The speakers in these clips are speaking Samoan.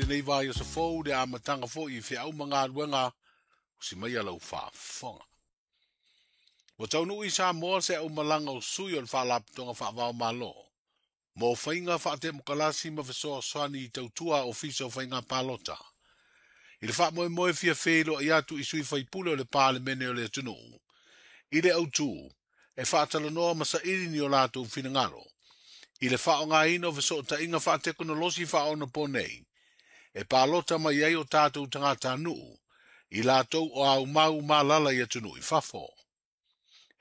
Lenei vaiaso fou le amataga foi i feau ma galuega o si mai lau faafofoga. Ua taunuu i Samoa se aumalaga o sui o le Faalapotopotoga Faava-o-Malo mo faiga faatemokalasi ma fesoasoani i tautua Ofisa o Faiga Palota. I le faamoemoe fia feiloai atu i sui faipule o le Palemene o le atunuu, i le autū e faatalanoa ma saili ni o latou finagalo, i le faaaogaina o fesootaiga faatekonolosi faaonaponei, e palota mai ai o tatou tagatanuu, i latou o aumau malala i atunuu i fafo.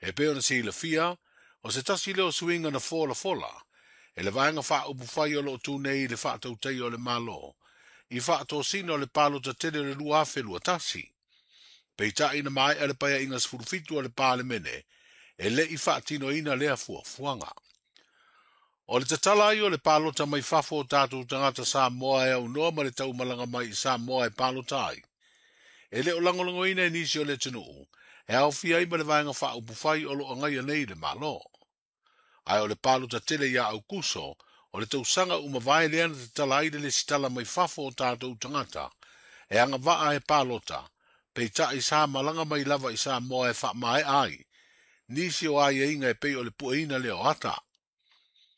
E pei ona silafia, o se tasi lea o suiga na folafola, e le vaega faaupufai o loo tu nei i le faatautaia o le Malo, i faatosina o le palota tele o le 2021. Peitai na maea le paeaiga 17 o le Palemene, e le i faatinoina lea fuafuaga. O le tatala ai o le palota mai fafo o tatou tagata Samoa e aunoa ma le taumalaga mai i Samoa e palota ai. E le o lagolagoina e nisi o le atunuu, e aofia ai ma le vaega faaupufai o lo o agaia nei le Malo. Ae o le palota tele ia Aukuso, o le tausaga ua mavae lea na tatala ai le lesitala mai fafo o tatou tagata, e agavaa e palota, peitai sa malaga mai lava i Samoa e faamaea ai, nisi o aiaiga e pei o le pueina lea o ata.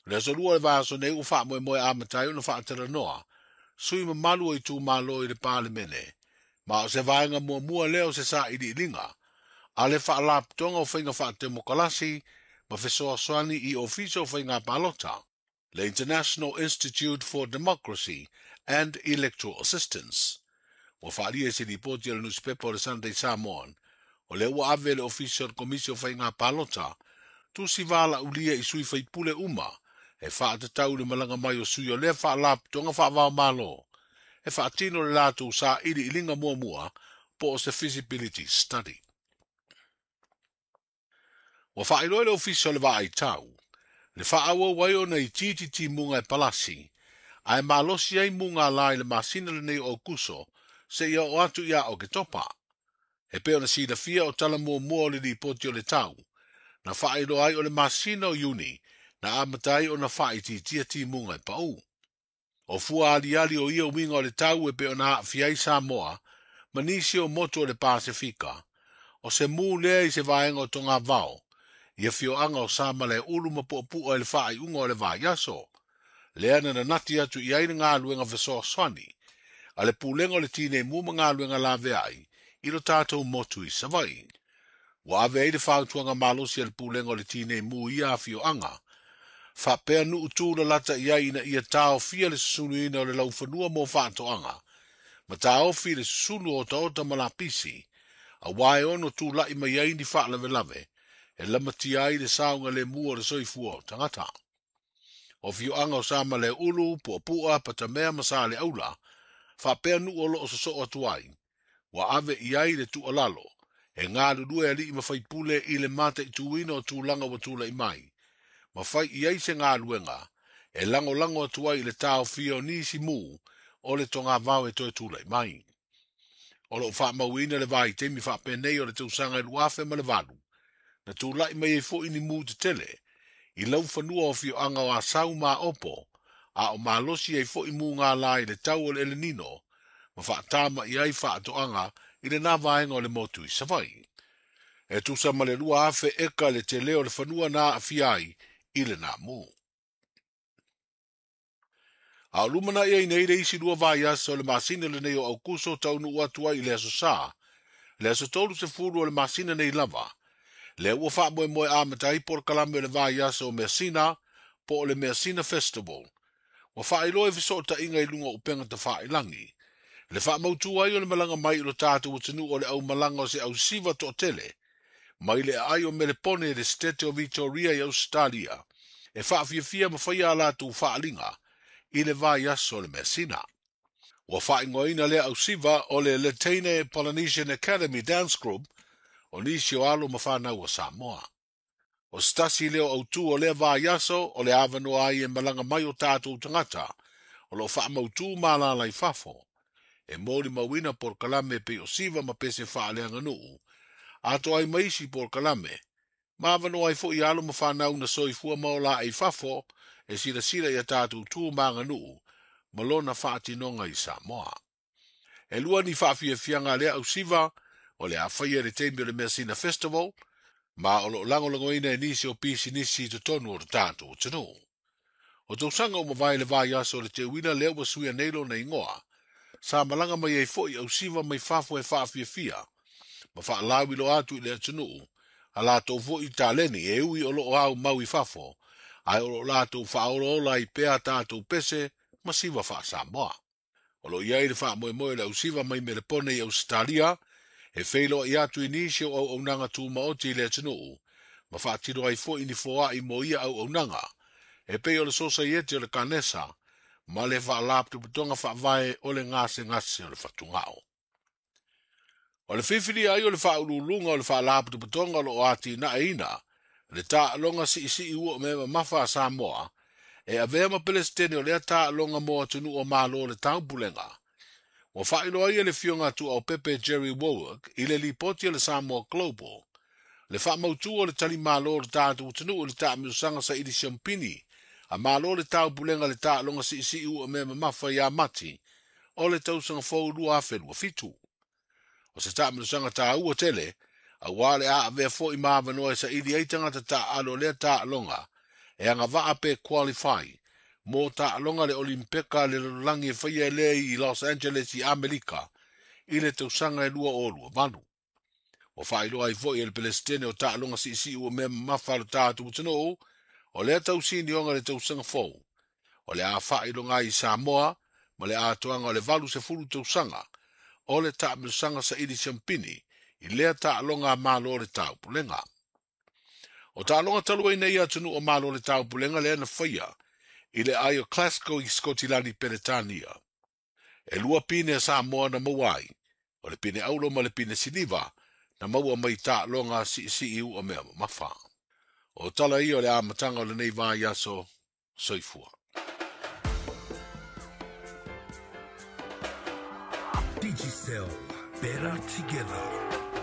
O le aso lua o le vaiaso nei ua faamoemoe amata ai ona faatalanoa, sui mamalu o itumalo i le Palemene, ma o se vaega muamua lea o se sailiiliga, a le Faalapotopotoga o Faiga Faatemokalasi ma fesoasoani i Ofisa o Faiga Palota, le International Institute for Democracy and Electoral Assistance. Ua faaalia i se lipoti a le nusipepa o le Sunday Samoan, o lea ua ave le Ofisa o le Komisi o Faiga Palota, tusi valaulia i sui faipule uma, e faatatau le malaga mai o sui o lea Faalapotopotoga Faava-o-Malo, e faatino le latou sailiiliga muamua po o se feasibility study. Ua faailoa e le Ofisa o le Vaai Tau, le faaauau ai ona itiiti timuga e palasi, ae malosi ai mugala i le masina lenei o Aukuso, seia oo atu ia Oketopa. E pei ona silafia o tala muamua o le lipoti o le tau, na faailoa ai o le masina o Iuni, na amata ai ona faaitiitia timuga e pau. O fua aliali o ia uiga o le tau e pei ona aafia ai Samoa, ma nisi o motu o le Pasefika, o se mu lea i se vaega o togavao, i afioaga o Samalaeulu ma Puapua i le faaiuga o le vaiaso. Lea na nanati atu i ai le galuega fesoasoani, a le Pulega o le Tineimu ma Galuega Laveai, i lo tatou motu i Savaii. Ua ave ai le fautuaga malosi a le Pulega o le Tineimu i ia afioaga, faapea nuu tulalata i ai ina ia taofia le susunuina o le laufanua mo faatoaga, ma taofi le susunu o otaota ma lapisi, auā e ono tula'i mai ai ni faalavelave, e lamatia ai le saogalemu o le soifua o tagata. O afioaga o Samalaeulu, Puapua, Patamea ma Saleaula, faapea nuu o loo sosoo atu ai, ua ave i ai le tuualalo, e galulue alii ma faipule i le mataituina o tulaga ua tulai mai, ma fai i ai se galuega, e lagolago atu ai i le taofia o nisi mu o le togavao e toe tulai mai. O loo faamauina le vaitaimi faapenei o le tausaga e 2008, na tulai mai ai foi ni mu tetele, i laufanua o afioaga o Asau ma Aopo, a o malosi ai foi mugala i le tau o le El Nino, ma faatama i ai faatoaga i lena vaega o le motu i Savaii. E tusa ma le 2,000 eka le tele o le fanua na aafia ai i lena mu. A o lumanai ai nei le isi 2 vaiaso o le masina lenei o Aukuso taunuu atu ai i le aso Sa, le aso 30 o le masina nei lava, lea ua faamoemoe amata ai polokalame o le vaiaso o Measina, po o le Measina Festival. Ua faailoa i fesootaiga i luga o upega tafailagi, le faamautu ai o le malaga mai i lo tatou atunuu o le aumalaga o se ausiva toatele, mai le aai o Melepone i le Setete o Victoria i Ausetalia, e faafiafia ma faia a latou faaliga i le vaiaso o le Measina. Ua faaigoaina lea ausiva o le Letaine Polynesian Academy Dance Group o nisi o alo ma fanau a Samoa. O se tasi lea o autū o lea vaiaso o le avanoa ai e malaga mai o tatou tagata o loo faamautū malala i fafo, e molimauina polokalame pei o siva ma pese faaleaganuu, atoa ai ma isi polokalame, ma avanoa ai foi alo ma fanau na soifua ma ola ai fafo e silasila ia tatou tu ma aganuu ma lona faatinoga i Samoa. E lua ni faafiafiaga a lea ausiva o le a faia i le taimi o le Measina Festival, ma o loo lagolagoina e nisi o pisinisi i totonu o le tatou atunuu. O tausaga ua mavae le vaiaso o le teuila lea ua suia nei lona igoa, sa malaga mai ai foi ausiva mai fafo e faafiafia ma faalauiloa atu i le atunuu a latou foi taleni e ui o loo aumau i fafo, ae o loo latou faaolaola ai pea tatou pese ma siva faasamoa. O loo i ai le faamoemoe o le ausiva mai Melepone i Ausetalia e feiloai atu i nisi o auaunaga tumaoti i le atunuu ma faatino ai foi ni foai mo ia auaunaga e pei o le Sosaiete o le Kanesa ma le Faalapotopotoga Faavae o le Gasegase o le Fatugao. O le fifilia ai o le faauluuluga o le Faalapotopotoga o loo atinaeina le taaloga siisii ua o mea mamafa a Samoa e avea ma Pelesitene o lea taaloga mo atunuu o Malo o le Taupulega. Ua faailoa ai e le Afioga a Tuaopepe Jerry Warwick i le lipoti a le Samoa Global le faamautu o le talimalo o le tatou atunuu i le taamilosaga saili siamupini a Malo o le Taupulega le taaloga siisii ua o mea mamafa ia Mati o le tausaga fou 2027. O se taamilosaga taua tele auā le a avea foi ma avanoa e saili ai tagata taaalo o lea taaloga e agavaa pe qualify mo taaloga le Olimpeka le lalolagi e faia e lea i Los Angeles i Amerika i le tausaga e 2028. Ua faailoa ai foi e le Pelesitene o taaloga siisii ua mea mamafa a le tatou atunuu o lea tausinioga le tausaga fou o le a faailoga ai i Samoa ma le atoaga o le 80 tausaga o le taamilosaga saili siamupini i lea taaloga a Malo o le Taupulega. O taaloga talu ai nei atunuu o Malo o le Taupulega lea na faia i le aai o Glasgow i Sikotilani Peretania. E lua pine a Samoa na maua ai, o le pine auro ma le pine siliva na maua mai taaloga siisii ua mea mamafa. O tala ia o le amataga o lenei vaiaso. Soifua. Digicel, better together.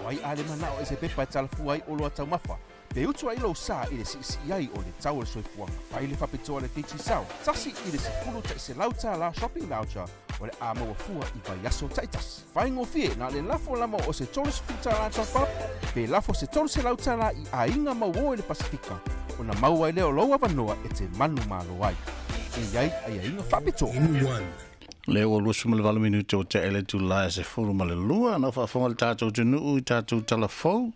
O ai a le manao e se pepa e talafua ai o loa taumafa, pe utu ai lou sa i le siisii ai o le tau o le soifuaga. Fai le faapitoa le Digicel, $1 $100 shopping voucher o le a maua fua i vaiaso taitasi. Faigofie na le lafo lama o se $30 top up, pe lafo se $300 i aiga mauō i le Pasifika, ona maua ai lea o lou avanoa e te manumalo ai. E i ai aiaiga faapitoa. In one. Le ua 28 minute o te ele tu la e se fulu ma le lua, na faafofoga le tatou atunuu i tatou talafou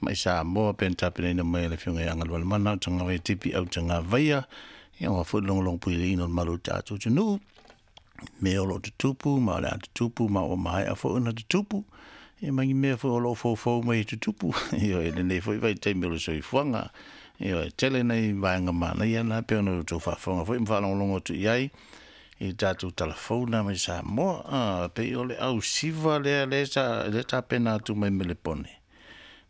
mai Samoa pe na tapenaina mai e le Afioga ia Agalualemana o Tagavaia Tipi au Tagavaia, ia ua foi logologo puileina o le malu o le tatou atunuu me o loo tutupu ma o le a tutupu ma ua maea foi ona tutupu, ia ma ni mea foi o loo foufou mai e tutupu ioe lenei foi vaitaimi o le soifuaga. Ioe, tele nai vaega manaia na pei ona outou faafofoga foi ma faalogologo atu i ai i tatou talafou na mai Samoa. A pei o le ausiva lea lea sa lea tapena atu mai Melepone,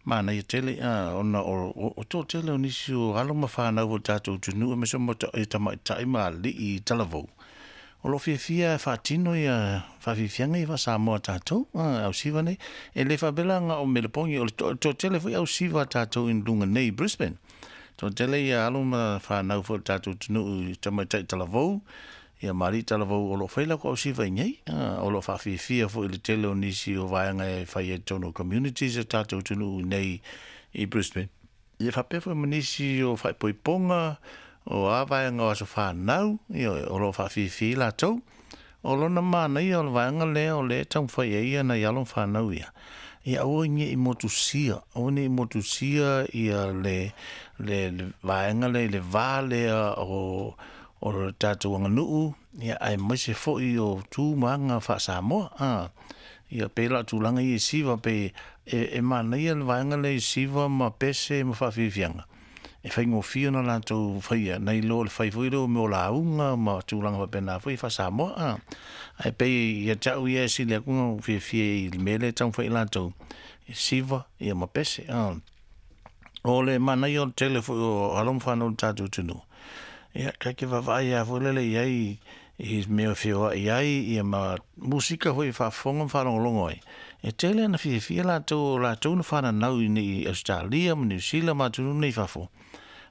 manaia tele a ona o toatele o nisi o alo ma fanau o le tatou atunuu aemaise o tamaitai ma alii talavou o loo fiafia e faatino ia faafiafiaga ia faa-Samoa tatou ausiva nei. E le faapea la na o Melepone, o le toatele foi ausiva tatou i luga nei i Brisbane. Toatele ia alo ma fanau foi o le tatou atunuu i tamaitai talavou ia ma alii talavou o loo fai latou ausiva i nei, o loo faafiafia foi i le tele o nisi o vaega e fai ai i totonu o communities o tatou atunuu i nei i Brisbane. Ia faapea foi ma nisi o faaipoipoga o a vaega o aso fanau, ioe, o loo faafiafia ai latou. O lona manaia o le vaega lea o lea e taumafai ai ia nai alo ma fanau ia, ia aua ne i motusia, aua ne i motusia ia le le vaega lea i le va lea o le tatou aganuu, ia aemaise foi o tu ma aga faa-Samoa. Ia pei la o tulaga ia i siva, pei e manaia le vaega lea i siva ma pese ma faafiafiaga, e faigofie ona latou faia, nai lo le fai foi lea o mea o lauga ma tulaga faapena foi faa-Samoa. Ae pei ia te au ia e sili atu ona ou fiafia i le mea lea e taumafai ai latou, e siva ia ma pese. O le manaia o le tele foi o alo ma fanau o le tatou atunuu, ia tatou te vaavaai lava foi lele i ai i mea e feoai ai ia ma musika foi e faafofoga ma faalogologo ai. E tele ana fiafia latou o latou na fananau i nei i Ausetalia ma Niu Sila ma atunuu nei i fafo.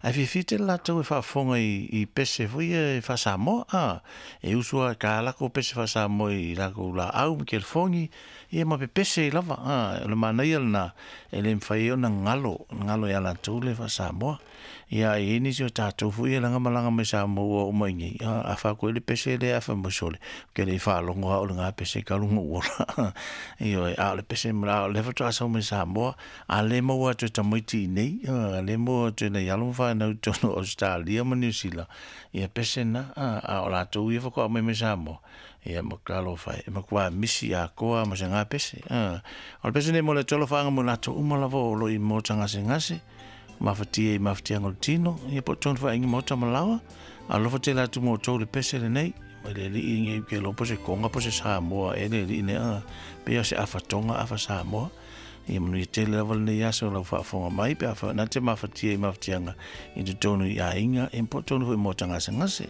Ae fiafia tele latou e faafofoga i pese foi ia e faa-Samoa, a. E usu lava e ta latou pese faa-Samoa i latou laau ma telefoni, ia ma pepese ai lava, a. O le manaia lena, e le mafai ai ona galo, galo ia latou le faa-Samoa. Ia ae i ai nisi o tatou foi ia leaga malaga mai Samoa ua oo mai i inei, a fai atu ai le pese lea ae fai mai, sole, ou te le i faalogo lava au i lena pese talu ona ou ola. Ioe, a o le pese, a o lea faatoa sau mai Samoa, a le maua atu e tamaiti i inei, a le maua atu e nai alo ma fanau i totonu o Ausetalia ma Niu Sila, ia pese na, a o latou ia faatoa aumai mai Samoa, ia matua alofa e, e matua misi atoa lava ma se ga pese. O le pese lenei mo le Atua alofaaga mo i latou uma lava o lo o i maota gasegase, mafatia i mafatiaga o le tino, ia po o totonu foi aiga maota ma laoa. Alofa tele atu mo outou i le pese lenei. Mai le alii nei ke iloa po se Tonga po se Samoa ea le alii nei, a pei o se afa Tonga afa Samoa. Ia manuia tele lava lenei aso lau faafofoga mai pe a na te mafatia i mafatiaga i totonu i aiga, ia po o totonu foi i maota gasegase.